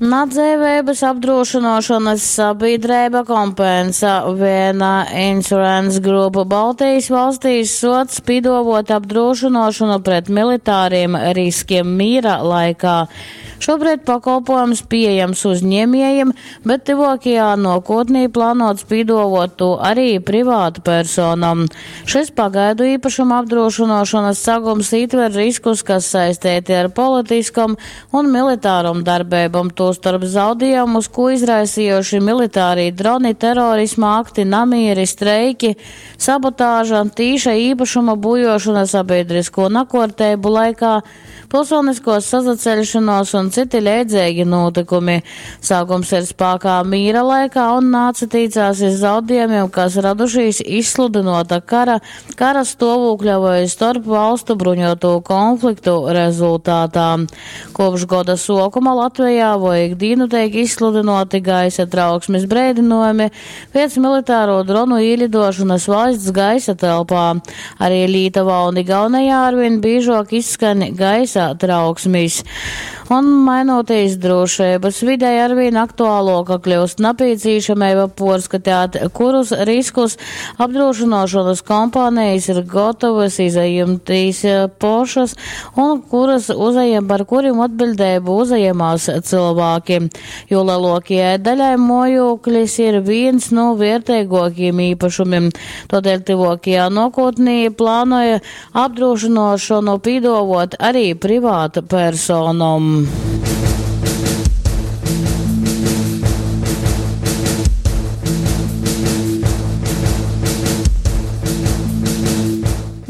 Nadzeiveibys apdrūšynuošonys sabīdreiba Compensa Viena Insurance Group Baltejis valstīs suoc pīduovuot apdrūšynuošonu pret militāriem riskiem mīra laikā. Šobrīd pakolpojums pieejams uzņēmējiem, bet tyvuokajā nuokūtnī plānuots pīduovuot tū arī privātpersonom. Šis pagaidu īpašuma apdrūšynuošonys sagums ītver riskus, kas saisteiti ar politiskom un militārom darbeibom, tūstorp zaudiejumus, kū izraisījuši militārī droni, terorisma akti, namīri, streiki, sabotāža, tīša īpašuma būjošana sabiedrisko nakuorteibu laikā, pilsoniskos sasaceļšanos un citi leidzeigi nūtykumi. Sākums ir spākā mīra laikā un nācatīcās iz zaudējumiem, kas radušīs izsludynota kara, kara stovūkļa voi storp valstu bruņotu konfliktu rezultātā. Kopš goda sokuma Latvijā voi ikdīnu teik izsludynoti gaisa trauksmes breidinojumi pēc militāro dronu īlidošanas valsts gaisa telpā. Arī Lītuvā un Igaunijā arvien biežāk izskan gaisa trauksmis. Un mainoties drošības videi arvien aktuāloka kļūst napīcīšamība porskatāt, kurus riskus apdrošināšanas kompānijas ir gatavas izajumtīs pošas un kuras uzajam, par kuriem atbildību uzajamās cilvēki. Jo lielākajai daļai mojoklis ir viens no vērtīgākajiem īpašumiem. Tādēļ tuvākajā nākotnē plānoja apdrošināšanu pīdovot arī privātu personam.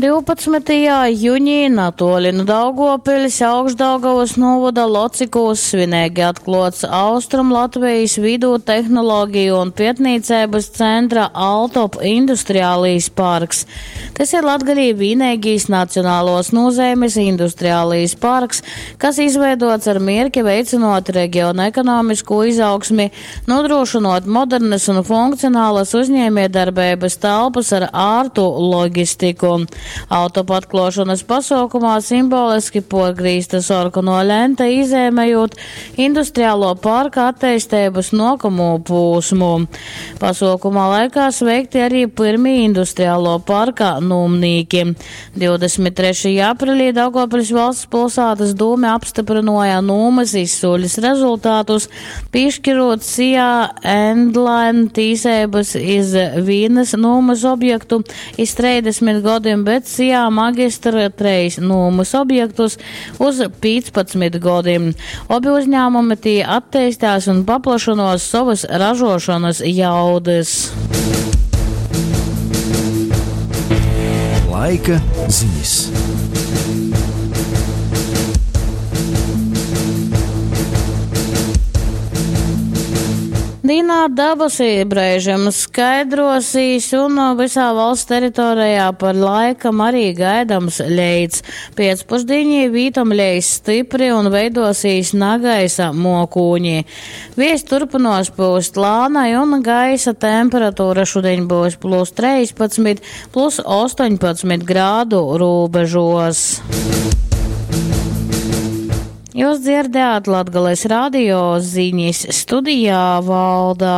12. Juņī natoli nu Daugavpils Augšdaugavas novada Locikūs svinīgi atklots Austrum Latvijas vidū tehnoloģiju un pietnīcības centra Altop industriālīs parks. Tas ir Latgalī vīnēgīs nacionālos nozeimes industriālīs parks, kas izveidots ar mierki veicinot reģiona ekonomisko izaugsmi, nodrošinot modernas un funkcionālas uzņēmiedarbības telpas ar ārtu loģistiku. Autopa atklošanas pasaukumā simboliski porgrīzta sorkano lenta izēmējot industriālo parka attīstības nokamo pūsmu. Pasaukumā laikā sveikti arī pirmie industriālo parka nūmnīki. 23. aprīlī Daugavpils valsts pilsētas dūme apstiprināja nūmas izsūļas rezultātus, piešķirot SIA Endline tīsības iz vīnas nūmas objektu iz 30 gadiem, bet SIA magistra treis nūmas objektus uz 15 gadiem. Obi uzņēmumi tī attīstās un paplašanos savas ražošanas jaudas. Laika ziņas. Dīnā dabasī brēžam skaidrosīs un visā valsts teritorijā par laikam arī gaidams leits. Piecpusdienī vītam leis stipri un veidosīs nagaisa mokūņi. Vies turpinos pūst lānai un gaisa temperatūra šodien būs plus 13, plus 18 grādu robežos. Jūs dzirdējāt Latgales radio ziņas studijā valdā.